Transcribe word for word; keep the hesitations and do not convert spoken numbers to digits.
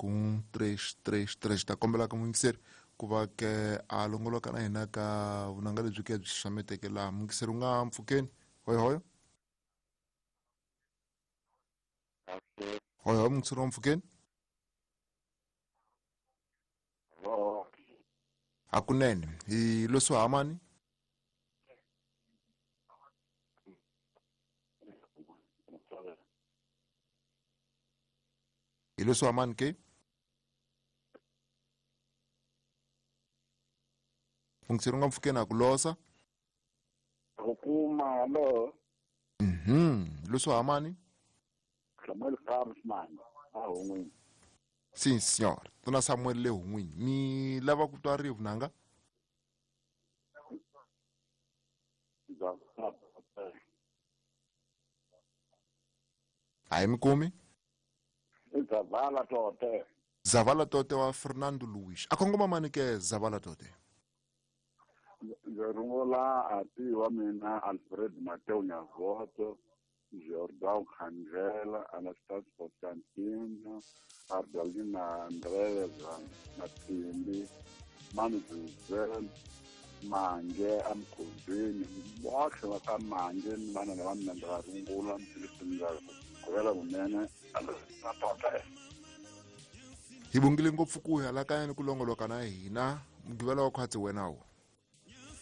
Um três três três ta kombela ka muyingiseri ku va ke a longoloka na hina ka vunanga lebyi ke byi xaxameteke laha. Muyingiseri u nga mpfukeni hoyohoyo hoyohoyo muyingiseri wa mpfukeni hakunene hi loswi hamani hi leswi hamani ke muyingiseri u nga mpfukeni a ku losa ku kuma hallo mhm leswi hamani Samuel Farmsman a Hungwini. Sim senhor tuna Samuel le Hungwini mi lava ku twa ri vunanga a hi mi kumi Zavala Tote. Zavala Tote wa Fernando Luis a kongoma mani ke Zavala Tote Ndzi rungula ati wa mina Alfred Mateo Nyavoto, Jordão Khandlela, Anastasio Constantino, Ardalina Andreza Matimbi, Manu José, Mange Amkhuzini, botlhe va ka Mange ni vana lava mina ndzi va rungula ndzi govela vunene na Tote. Hi bongile ngopfu ku hala kaya ni ku longoloka na hina mugqivela wa khwatsi wena wo.